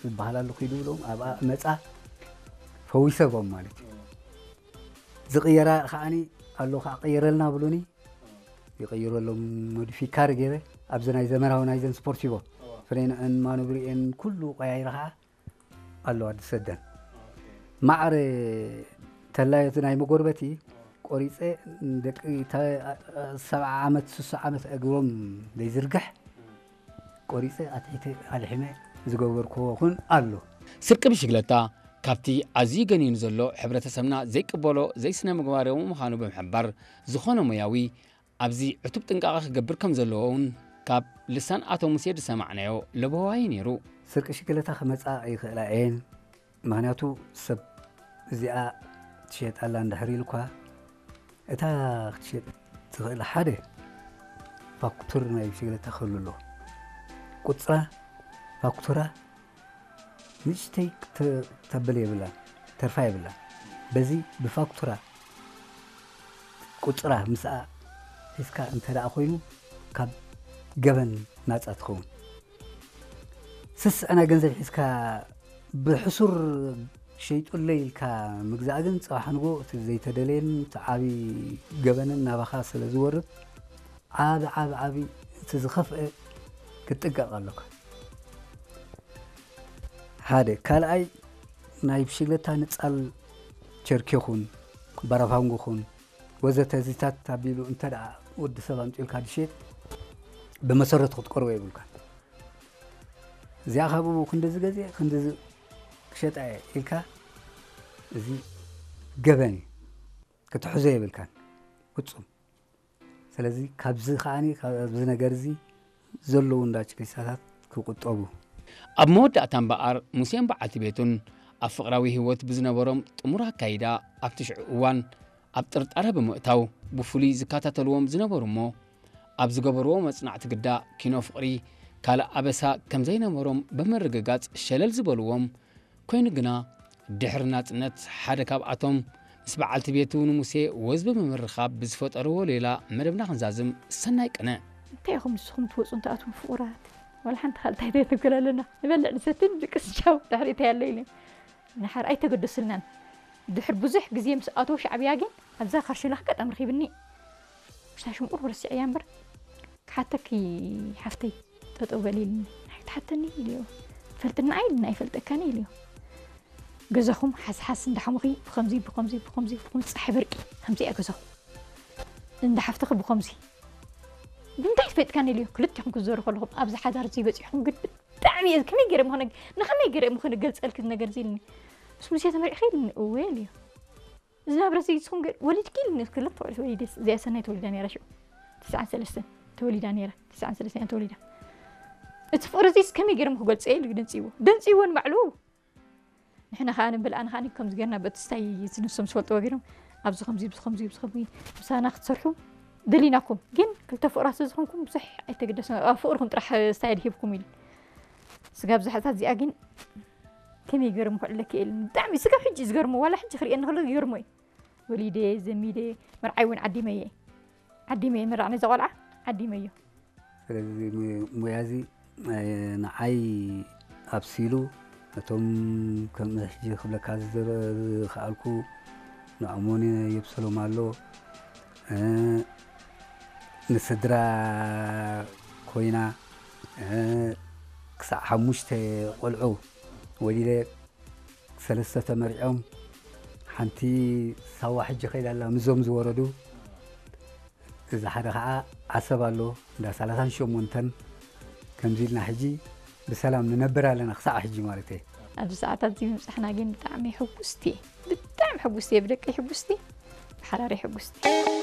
ዝበሃል ኣሎ፣ ኪዱ ብሎም ኣብኣ መጻ፣ ፈዊሰዎም ማለት እዩ። ዝቕየራ ከዓኒ ኣሎ፣ ከዓ ቀይረልና ብሉኒ፣ ይቐይረሎም፣ ሞዲፊካር ገይረ ኣብዚ ናይ ዘመናዊ ናይዘን ስፖርቲቮ ፍሬንአን ማኖብሪኤን ኩሉ ቀያይረ ከዓ ኣሎ ኣዲ ሰደን። ማዕረ ተላዮት ናይ መጎርበቲ ቆሪፀ፣ ደቂ ተ- ሰብዓ ዓመት ስሳ ዓመት እግሮም ዘይዝርግሕ ቆሪፀ ኣትሒተ ኣልሒመ ዝገበርክዎ እውን ኣሎ። ስርቂ ብሽግለታ ካብቲ ኣዝዩ ገኒኑ ዘሎ ሕብረተሰብና ዘይቅበሎ ዘይስነ ምግባራዊ ምዃኑ ብምሕባር፣ ዝኾነ ሞያዊ ኣብዚ ዕቱብ ጥንቃቐ ክገብር ከም ዘለዎ እውን ካብ ልሳን ኣቶ ሙሴ ዝሰማዕናዮ ለበዋይ ነይሩ። ስርቂ ሽግለታ ክመፃ ይኽእላ እየን። ምኽንያቱ ሰብ እዚኣ ትሸጣላ እንድሕር ኢልኳ፣ እታ ክትሸጥ ትኽእል ሓደ ፋክቱር ናይ ብሽግለታ ክህሉ ኣለዎ። ቁፅራ ፋክቱራ ንእሽተይ ክተ- ተብል የብላን፣ ተርፋ የብላን። በዚ ብፋክቱራ ቁፅራ ምስኣ ሒዝካ እንተ ደኣ ኮይኑ ካብ ገበን ናፃ ትኸውን። ስስዕ ናይ ገንዘብ ሒዝካ ብሕሱር ሸይጡለይ ኢልካ ምግዛእ ግን፣ ፅባሕ ንጎ እቲ ዘይተደለየን እቲ ዓቢ ገበንን ናባኻ ስለ ዝወርድ፣ ዓቢ ዓቢ ዓቢ እቲ ዝኸፍአ ክትጥንቀቕ ኣለካ። ሓደ ካልኣይ ናይ ብሽግለታ ንጻል ቸርኬኹን ባራፋንጎኹን ወዘተ እዚታት ኣቢሉ እንተ ደኣ ወዲ ሰብ ኣምጺኡልካ ድሸጥ ብመሰረቱ ክትቀርቦ የብልካን። እዚኣ ካብኡ ክንድዚ ገዜ ክንድዚ ክሸጣ እየ ኢልካ እዚ ገበን እዩ። ክትሕዞ የብልካን ፍጹም። ስለዚ ካብዚ ከዓኒ ካብዚ ነገር እዚ ዘለዉ እንዳ ችክሪሳታት ክቁጠቡ። ኣብ መወዳእታ እምበኣር ሙሴን በዓልቲ ቤቱን ኣብ ፍቕራዊ ህይወት ብዝነበሮም ጥሙር ኣካይዳ ኣብቲ ሽዑ እዋን ኣብ ጥርጣረ ብምእታው ብፍሉይ ዝከታተልዎም ዝነበሩ እሞ ኣብ ዝገበርዎ መጽናዕቲ ግዳ ኪኖ ፍቕሪ ካልእ ኣበሳ ከም ዘይነበሮም ብምርግጋጽ ሸለል ዝበልዎም ኮይኑ ግና ድሕሪ ናጽነት ሓደ ካብኣቶም ምስ በዓልቲ ቤቱ ንሙሴ ወዝ ብምምርኻብ ብዝፈጠርዎ ሌላ መደብና ክንዛዝም ሰናይ ቅነ። እንታይ ኢኹም ንስኹም ትወፁ እንትኣትዉ ፍቑራት? ዋላ ሓንቲ ካልእ እንታይ ዘይንብል ኣለና። ንበልዕ ንሰትን ድቅስ ቻው ድሕሪ እንታይ ኣሎ ኢለ። ንሓር ኣይተገደስልናን። ድሕሪ ብዙሕ ግዜ ምስ ኣተወ ሻዕብያ ግን ኣብዛ ካርሽላ ኣጋጣሚ ረኺብኒ። ሽታ ሽምቁር ረሲዐያ እምበር ክሓተኪ ሓፍተይ ጠጠው በሊ ኢልኒ። ኣይትሓተኒ ኢልዮ። ፈልጥና ኢልና ኣይፈልጠካን ኢልዮ። ገዛኹም ሓስሓስ እንዳሓሙኺ ብኸምዚ ብኸምዚ ብኸምዚ ብኸምዚ ፃሒ በርቂ ከምዚ እያ ገዛኹም። እንዳ ሓፍትኺ ብኸምዚ ብምንታይ ትፈጥካኒ ኢልዮ። ክልቲኹም ክትዘሩ ከለኹም ኣብዚ ሓዳር እዚ በፂሕኩም ግን ብጣዕሚ እየ ከመይ ገይረ ምኾነ ንኸመይ ገይረ ምኾነ ገልፀልኪ ነገር እዚ ኢልኒ። ምስ ሙሴ ተመሪዕኺ ኢልኒ እወ ኢልዮ። ዝናብረ እዚ ንስኹም ገ- ወሊድኪ ኢልኒ ክልተ ቆልዑ ወሊደ እዚኣ ሰናይ ተወሊዳ ነይራ ሽዑ ትስዓን ሰለስተን ተወሊዳ ነይራ ትስዓን ሰለስተን እያ ተወሊዳ እቲ ፍቕሪ እዚ ከመይ ገይሮም ክገልፀ ኢሉ ደንፅይዎ ደንፅይዎ ንባዕሉ ንሕና ከዓ ንብል ኣነ ከዓ ከምዚ ገርና በቲ ስታይ ንሶም ዝፈልጥዎ ገይሮም ኣብዚ ከምዚ ኣብዚ ከምዚ ኣብዚ ከምዚ ምሳና ክትሰርሑ ደሊናኩም ግን ክልተ ፍቕራት ስለዝኾንኩም ብዙሕ ኣይተገደሰ ኣብ ፍቕርኩም ጥራሕ ስታይ ድሂብኩም ኢሉ ስጋብ ዝሓታት እዚኣ ግን ከመይ ገይሮም ክዕለኪ ኢሉ ብጣዕሚ ስጋብ ሕጂ ዝገርሞ ዋላ ሕጂ ክርእየኒ ከሎ ይገርሞ እዩ ወሊደ ዘሚደ መርዓይ እውን ዓዲመየ ዓዲመየ መራዕ ነዚ ቆልዓ ዓዲመዮ ስለዚ ሙያ እዚ ንዓይ ኣብሲሉ ነቶም ከም ሕጂ ክብለካ ዝኽኣልኩ ንኣሞኒ የብሰሎም ኣሎ ንስድራ ኮይና ክሳዕ ሓሙሽተ ቆልዑ ወሊደ ሰለስተ ተመሪዖም ሓንቲ ሳዋ ሕጂ ከይዳ ኣላ ምዞም ዝወረዱ እዚ ሓደ ከዓ ዓሰብ ኣሎ እንዳ ሰላሳን ሸሞንተን ከምዚ ኢልና ሕጂ ብሰላም ንነብር ኣለና ክሳዕ ሕጂ ማለት እየ ኣብዚ ሰዓታት እዚ ምብፃሕና ግን ብጣዕሚ ሕጉስቲ እየ ብጣዕሚ ሕጉስቲ እየ ብደቀይ ሕጉስቲ ብሓራሪ ሕጉስቲ